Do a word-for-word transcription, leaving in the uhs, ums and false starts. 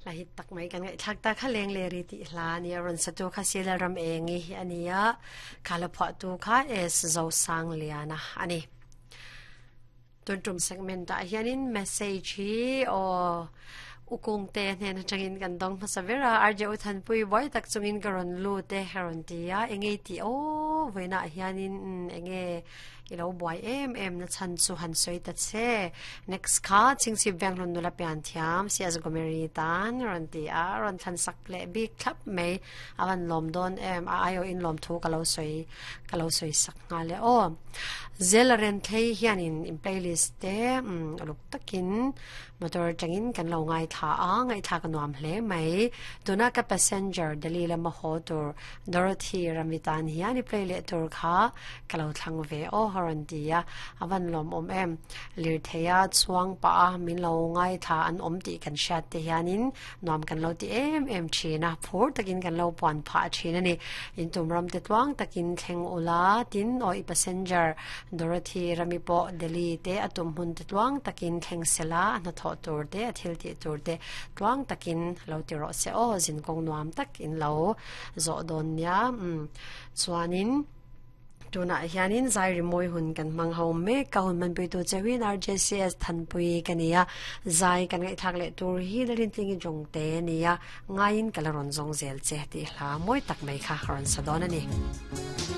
Lahit tak mai kan ngai thak ta kha leng le ri ti hla ni ron sa tu kha sila ram engi hi ania khala phwa tu kha es zo sang liana ani tun tum segment ta hianin message hi o ukung te hnen atangin kan dong hmasa vera R J uthan pui boy tak chungin karon lu te heron tia enge ti o voina hianin enge ilo boy em em na chan chu han soi ta che next kha chingchi banglon nula pian thiam si az gomeri tan ron ti a ron than sak le bi thlap mai awan lom don em a ayo in lom thu kalo soi kalo soi sak nga le o zelaren thei hianin in playlist te um luk takin motor changin kan lo ngai tha a ngai tha ka nuam hle mai tuna ka passenger dalila ma ho tur Dorothy Ramitan hian i play le tur kha kalo thlang ve o horon tia awan lom om em lir theya chuang pa min lo ngai tha an om ti kan shat te hianin nuam kan lo ti em em thina phur takin kan lo pon pha thina ni in tum ram te tuang takin thleng ula tin oi passenger Dorothy Ramipo Delhi te atum hun te tuang takin thleng sela na tho tur te athil ti tur te tuang takin lo ti ro se o zin kong nuam tak in lo zo don nia um chuanin tuna hianin zai rimoi hun kan mang ho me ka hun man pui tu chewin R J C S thanpui kania zai kan ngai thak le tur hi dalin tlingi jong te nia ngain kalaron zong zel che ti hla moi tak mai kha ron sadon ani.